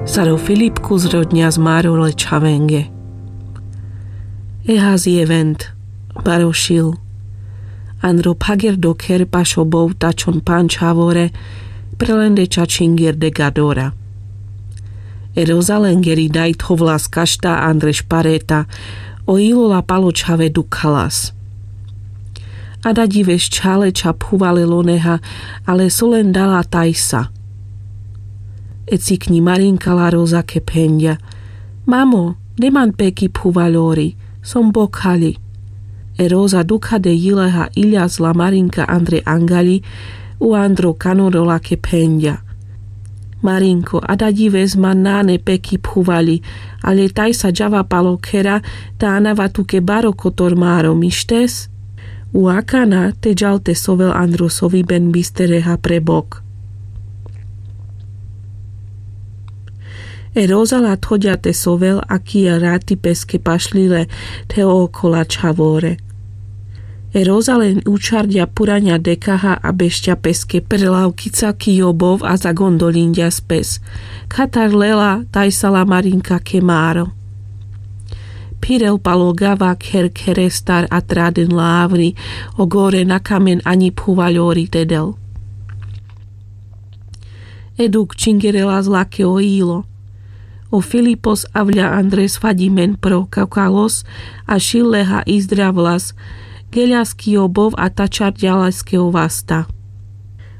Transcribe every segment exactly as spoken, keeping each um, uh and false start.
Sar o filipkus rodňas máro le čhavenge. Ehas jevent, baro šil. Andro phagerdo kher paš o bov tačon panč havore, pre lende čačingerde gadora. E rozalengeri daj thovlas kašta andre špareta, o ilo la palo čhave dukhalas. Ada ďives čhale ča phuvale loneha, ale so len dala tajsa. E cikňi marinka la rozake phenďa: Mamo, de man peki phuvaľori, som bokhali. E roza dukhade ďileha iľas la marinka andre angaľi, u andro kanoro lake phenďa: Marinko, ada ďives man nane peki phuvaľi, ale tajsa džava palo khera, ta anava tuke baro kotor máro, mištes? U akana te džal te sovel andro so viben bistereha pre bok. E roza la thoďa te sovel a kija rati peske pašľile the okola čhavore. E roza len učarďa puraňa dekaha a bešťa peske pre lavkica kijo bov a zagondoľinďas pes. Khatar lela tajsa la marinka ke máro. Phirel palo gava kher kherestar a traden la avri, o gore na kamen aňi phuvaľori te del. E duk čingerelas lake o ilo. O filipos avľa andres faďimen pro kakalos, a šil leha izdravlas, geľas kijo bov a tačarďa leske o vasta.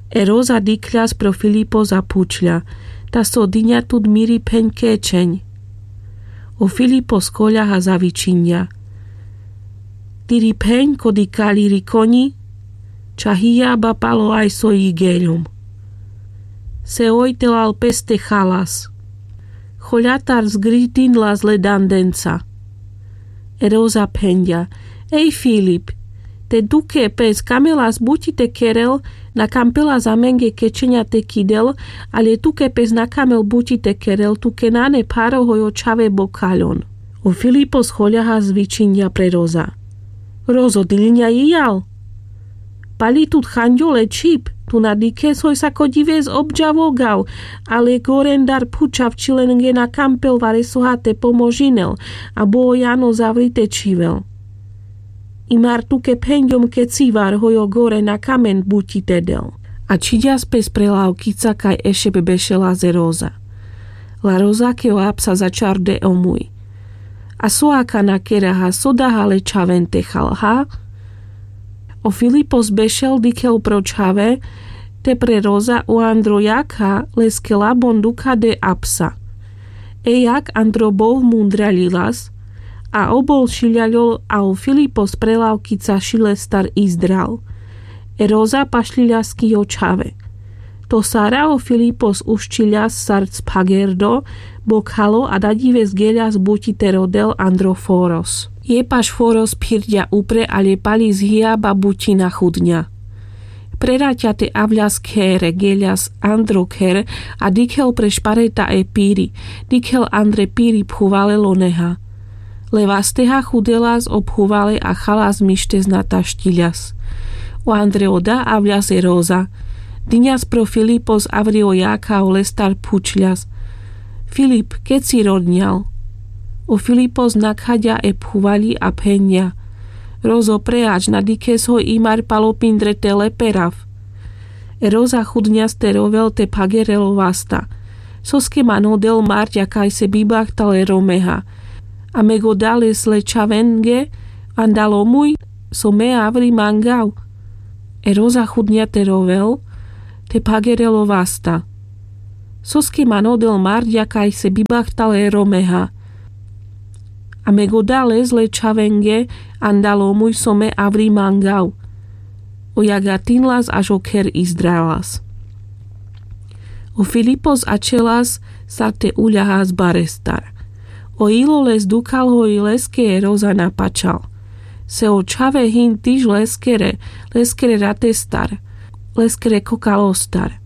E roza dikhľas pro filipos a phučľa: Ta so diňa tut miri pheň kečeň? O filipos choľaha zavičinďa: Tiri pheň kodi kaľiri koňi, ča hijaba palo aj so i geľom. Se oj telal peste chalas. Choľatar zgritinlas le dandenca. E roza phenďa: Ej filip, te duke pes kamelas buti te kerel, na kampelas amenge kečeňa te kidel, ale tuke pes na kamel buti te kerel, tuke nane pharo hoj o čhave bokhaľon. O filipos choľaha zvičinďa pre roza: Rozo, diľňa ijal? Paľi tut chanďo le čhib, tu na dikhes hoj sako ďives obďa vogav, ale gorendar phučav čhilenge na kampel varesoha te pomožinel, a bo o jano zavrite čhivel. I mar tuke phenďom kecivar hoj o gore na kamen buti te del. A čhiďas pes pre lavkica kaj ešebe bešelas e roza. La rozake o apsa začarde omuj: A so akana keraha, so daha le čhaven te chalha? O filipos bešel dikhel pro čhave, te pre roza o andro jakha leske labon dukhade apsa. E jak andro bov mundraľilas, a obol šiľaľol a o filipos pre lavkica šilestar izdral. E roza pašľiľas kijo čhave. To sara o filipos uščiľas sar cphagerdo, bokhalo a daďives geľas buti te rodel andro foros. Je paš foros phirďa upre, ale paľi zhijaba buti na chudňa. Preraťate avľas khere geľas andro kher, a dikhel pre špareta e piri, dikhel andre piri phuvale loneha. Le vasteha chudelas o phuvale a chalas mištes na tašťiľas. O andre oda avľas e roza. Diňas pro filipos avri o jakha olestar phučľas: Filip, keci rodňal? O filipos nakhaďa e phuvaľi a phenďa: Rozo, preač, na dikhes hoj i mar palo pindre te leperav. E roza chudňas te rovel te phagerelo vasta: Soske man odel marďa kaj se bibachtal e romeha, a meg oda les le čhavenge, andal omuj so me avri mangav? E roza chudňa te rovel te phagerelo vasta: Soske man odel marďa kaj se bibachtal e romeha, a meg oda les le čhavenge, andal omuj so me avri mangav? O jagatinlas až o kher izdralas. O filipos ačhelas sar te uľahas barestar. O ilo les dukhal hoj leske e roza na pačal. Se o čhave hin tiž leskere, leskere ratestar, leskere kokalostar.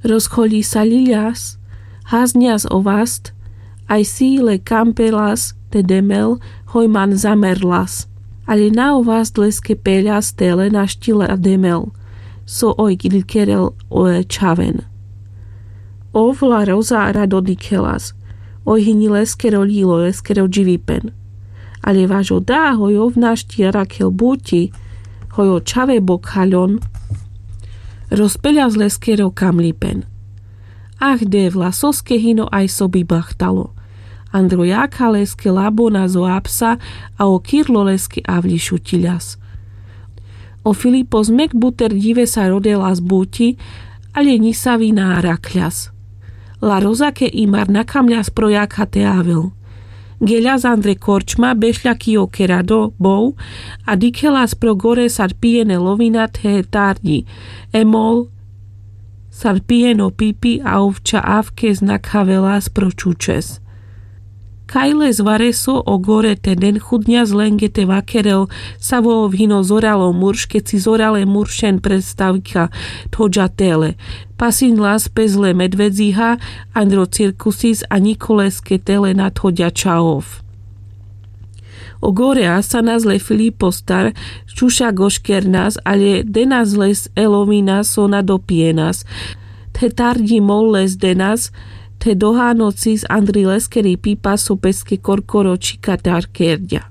Rozchoľisaľiľas, hazňas o vast, aj si le kampelas te demel, hoj man zamerlas. Ale na o vast leske peľas te le našti le demel, so oj kľikerel o e čhaven. Ov la roza rado dikhelas. Oj hini leskero ljilo, leskero dživipen. Ale vaš o da hoj ov našti arakhel buti, hoj o čhave bokhaľon, rozpeľas leskero kamľipen. Ach devla, soske hino aj so bibachtalo. Andro jakha leske labonas o apsa a o kirlo leske avľi šutiľas. O filipos mek buter džive sa rodelas buti, ale nisavi na arakhľas. La rozake imar na kamľas pro jakha te avel. Geľas andre korčma bešľa ki o kerado bov, a dikhelas pro gore sar pijene lovina the tardi, e mol sar pijeno pipi a ovča avkes na khavelas pro čučes. Kaj les vareso o gore te den chudňas lenge te vakerel, savo ov hino zoralo murš keci zorale muršen predstavka thodža tele. Pasinlas pes le medvedziha andro cirkusis a nikoleske tele na thodďa ča ov. O gore asanas le filipos tar čuša goškernas ale denas les e lovina so na dopijenas. The tardi mol les denas, the dohanocis andri leskeri pipa so peske korkoro čhikatar kerďa.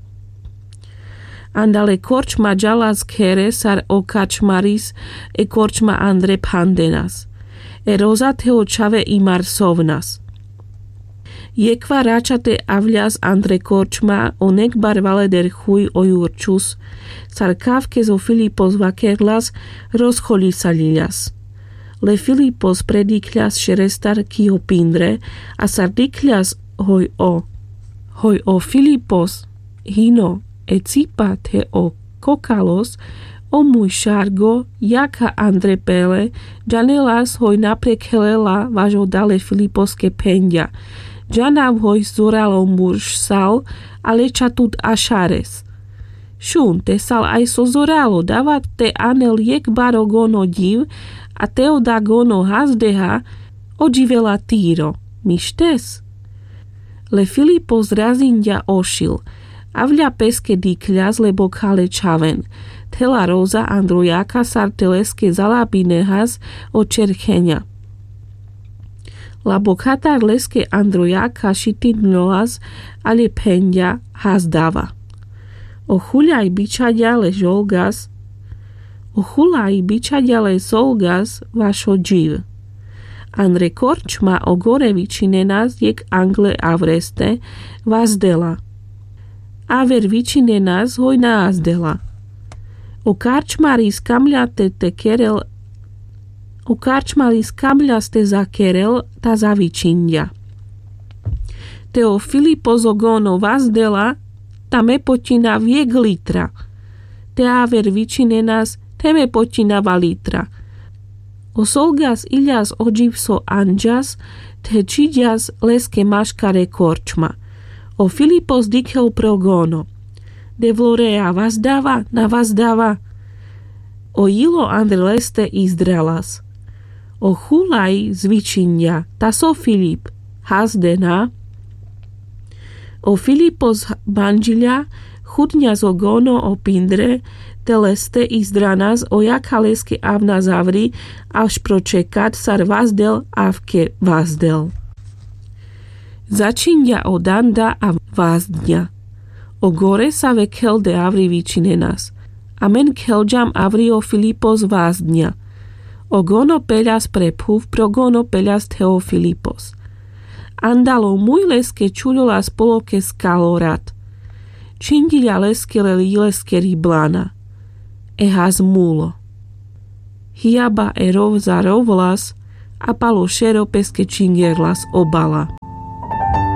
Andale korčma džalas khere sar o kačmaris e korčma andre phandenas. E roza the o čhave imar sovnas. Jekva rača te avľas andre korčma o nekbar valeder chuj o jurčus. Sar kavkes o filipos vakerlas, rozchoľisaľiľas. Le filipos predikľas šerestar ki o pindre, a sar dikľas hoj o hoj o filipos hino e cipa the o kokalos, o muj šargo jakha andre pele džanelas hoj na prekhelela vaš o da le filiposke phenďa. Džanav hoj zoralo murš sal, ale ča tut ašares. Šun te sal aj so zoralo dava te anel jekbar o gono dživ, a te o da gono hazdeha, o dživela tiro. Mištes. Le filipos razinďa ošil. Avľa peske dikľas lebo khale čhaven. Thela roza andro jakha sar te leske zalabinehas o čerkheňa. Labo khatar leske andro jakha šitinľolas, ale phenďa hazdava. O chuľaj bičhaďa le žolgas. O chuľaj bičhaďa le solgas vaš o dživ. Andre korčma o gore vičhinenas jekh angle avreste, vazdela. Aver vičhinenas hoj na azdela. O karčmaris kamľa te te kerel o karčmaris kamľa ste zakerel, ta zavičhinďa. Te o filipos o gono vazdela, ta me potiňa vjek litra. Te aver vičhinenas, te me potiňa va litra. O solgas iľas o dživ so anďas, the čhiďas leske maškar e korčma. O filipos dikhel pro gono. Devlorea vazdava na vazdava. O jilo andre leste izdralas. O chuľaj zvičhiňďa, ta so filip, hazdena. O filipos bandžiľa, chudňas o gono o pindre, te leste izdranas o jakha leske avna zavri, avš pro čekat sar vazdel avke vazdel. Začinďa o danda a vazdňa. O gore save khelde avri vičinenas. Amen khelďam avri o filipos vazdňa. O gono peľas pre phuv pro gono peľas the o filipos. Andal o muj leske čuľolas poloke skalorat. Čhinďiľa leske le leskeri blana. E has mulo. Hiaba e rov za rovlas a palo šero peske čhingerlas o bala.